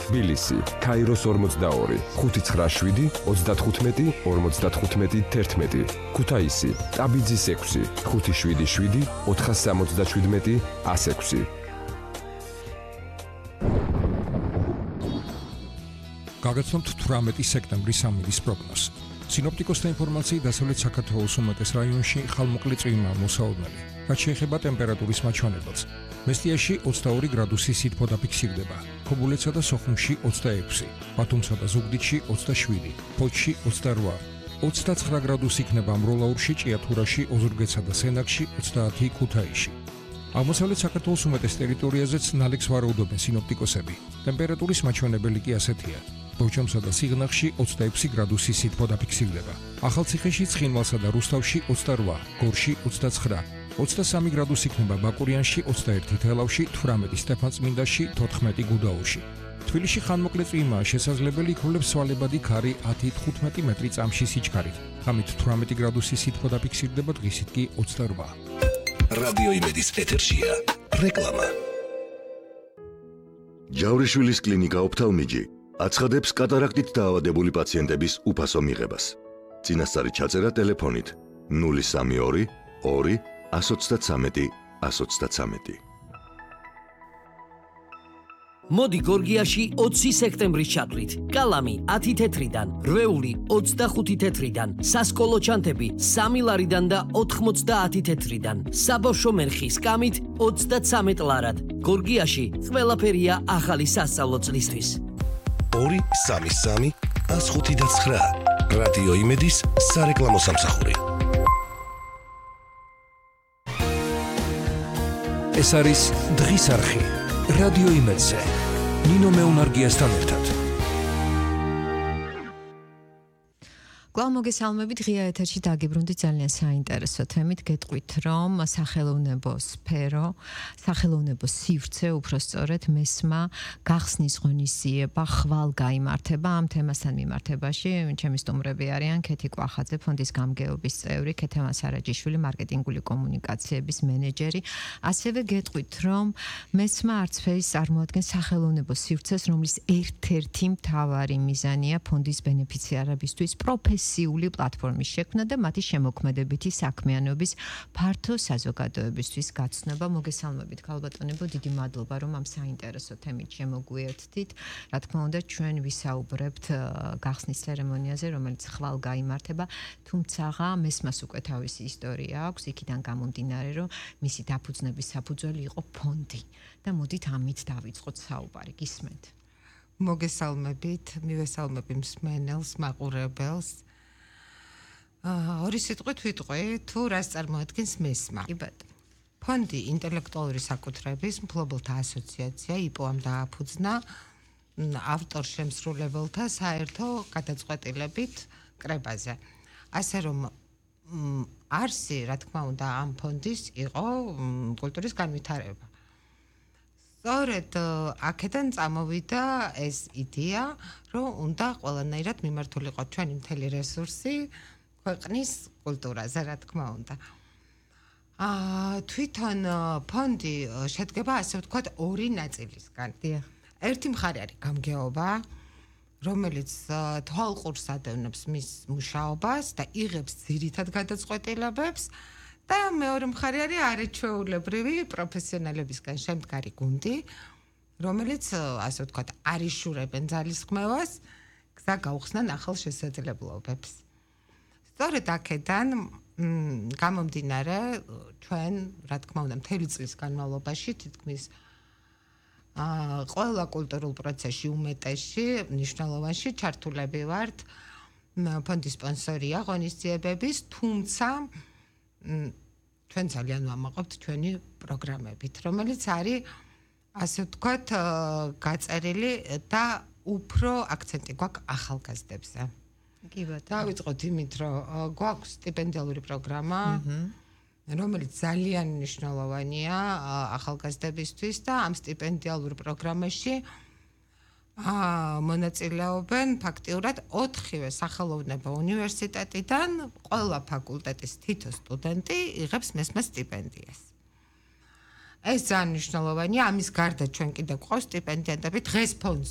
თბილისი, ქაიროს 42, 597, 35, 55, 11. ქუთაისი, ტაბიძის 6, 577, 477, 106. გაგაცნობთ 18 სექტემბრის სამინდის პროგნოზს. სინოპტიკოსთა ინფორმაციით დასავლეთ საქართველოს უმეტეს რაიონში ხალმოკლე წვიმაა მოსაოდნელი. რაც შეეხება ტემპერატურის მაჩვენებელს. მესტიაში 22 გრადუსი სითბო დაფიქსირდება, ქობულეთსა და სოხუმში 26, ბათუმსა და ზუგდიდში 27, ფოთში 28, 29 გრადუსი იქნება მროლაურში, ჭიათურაში, ოზურგეთსა და სენაკში 30 ქუთაისში. აღმოსავლეთ საქართველოს უმეტეს ტერიტორიაზეც ნალექს ვარაუდობენ სინოპტიკოსები. ტემპერატურის მაჩვენებელი კი ასეთია. ბორჯომსა და სიღნაღში 26 გრადუსი სითბო დაფიქსირდება. ახალციხეში, ცხინვალსა და რუსთავში 28, გორში 29, 23 გრადუსი იქნება ბაკურიანში, 21 თელავში, 18 სტეფანწმინდაში, 14 გუდაურში. თბილისში ხანმოკლე წვიმაა შესაძლებელი, იქნებს სვალებადი ქარი 10-15 მეტრი წამში სიჩქარით. ღამით 18 გრადუსი სითბო დაფიქსირდება, დღისით კი 28. რადიო იმედის ეთერშია რეკლამა. ჯავრიშვილის კლინიკა ოფთალმიჯი აცხადებს კატარაქტით დაავადებული პაციენტების უფასო მიღებას. წინასწარი ჩაწერა ტელეფონით 032 2 133 133. მოდი გორგიაში 20 სექტემბრის ჩათვლით. კალამი 10 თეთრიდან, რვეული 25 თეთრიდან, სასკოლო ჩანთები 3 ლარიდან და 90 თეთრიდან. საბავშვო მერხი სკამით 33 ლარად. გორგიაში ყველაფერია ახალი სასწავლო წლისთვის. 233 105 რადიო იმედის სარეკლამო სამსახური. ეს არის დღის არხი რადიო იმედზე. ნინო მეუნარგიასთან ერთად. კვლავ მოგესალმებით, ღია ეთერში დაგიბრუნდით ძალიან საინტერესო თემით. გეტყვით, რომ სახელოვნებო სფერო, სახელოვნებო სივრცე, უფრო სწორედ მესმა გახსნის ღონისძიება ხვალ გაიმართება. ამ თემასთან მიმართებაში ჩემი სტუმრები არიან ქეთი კვახაძე, ფონდის გამგეობის წევრი, ქეთევან სარაჯიშვილი, მარკეტინგული კომუნიკაციების მენეჯერი. ასევე გეტყვით, რომ მესმა არცფერის წარმოადგენს სახელოვნებო სივრცეს, რომლის ერთ-ერთი მთავარი მიზანია ფონდის ბენეფიციარებისთვის პროფესიული პლატფორმის შექმნა და მათი შემოქმედებითი საქმიანობის ფართო საზოგადოებისთვის გაცნობა. მოგესალმებით, ქალბატონებო, დიდი მადლობა, რომ ამ საინტერესო თემით შემოგვიერთდით. რა თქმა უნდა, ჩვენ ვისაუბრებთ გახსნის ცერემონიაზე, რომელიც ხვალ გაიმართება, თუმცა მესმას უკვე თავისი ისტორია აქვს, იქიდან გამომდინარე, რომ მისი დაფუძნების საფუძველი იყო ფონდი. და მოდით ამით დავიწყოთ საუბარი. გისმენთ? მოგესალმებით, მივესალმები მსმენელს, მაყურებელს. ორი სიტყვით ვიტყვი, თუ რას წარმოადგენს მესმა. კი ბატონო. ფონდი ინტელექტუალური საკუთრების მფლობელთა ასოციაცია იპო-ამ დააფუძნა ავტორ-შემსრულებელთა საერთო გადაწყვეტილებით კრებაზე. ასე რომ არსი, რა თქმა უნდა, ამ ფონდის იყო კულტურის განვითარება. სწორედ აქედან წამოვიდა ეს იდეა, რომ უნდა ყველანაირად მიმართულიყო ჩვენი მთელი რესურსი ქვეყნის კულტურაზე, რა თქმა უნდა. თვითონ ფონდი შედგება, ასე ვთქვათ, ორი ნაწილისგან. ერთი მხარე არის გამგეობა, რომელიც თვალყურს ადევნებს მის მუშაობას და იღებს ძირითად გადაწყვეტილებებს. და მეორე მხარე არის არაჩვეულებრივი პროფესიონალებისგან შემდგარი გუნდი, რომელიც, ასე ვთქვათ, არიშურებენ ძალისხმევას, გზა გაუხსნან ახალ შესაძლებლობებს. სწორედ აქედან გამომდინარე, ჩვენ, რა თქმა უნდა, მთელი წლის განმავლობაში თითქმის ყველა კულტურულ პროცესში უმეტესში, მნიშვნელოვანში ჩართულები ვართ. ფონდის სპონსორია ღონისძიებების, თუმცა ჩვენ ძალიან ვამაყობთ ჩვენი პროგრამებით, რომელიც არის, ასე ვთქვათ, გაწერილი და უფრო აქცენტი გვაქვს ახალგაზრდებზე. კი ბატონო. დავიწყოთ იმით, რომ გვაქვს სტიპენდიალური პროგრამა, რომელიც ძალიან მნიშვნელოვანია ახალგაზრდებისთვის და ამ სტიპენდიალურ პროგრამაში მონაწილეობენ ფაქტიურად 4-ვე სახელოვნებო უნივერსიტეტიდან, ყველა ფაკულტეტის თითო სტუდენტი იღებს მესმე სტიპენდიას. ეს ძალიან მნიშვნელოვანია, ამის გარდა ჩვენ კიდევ გვყავს სტიპენდიატები დღეს ფონდს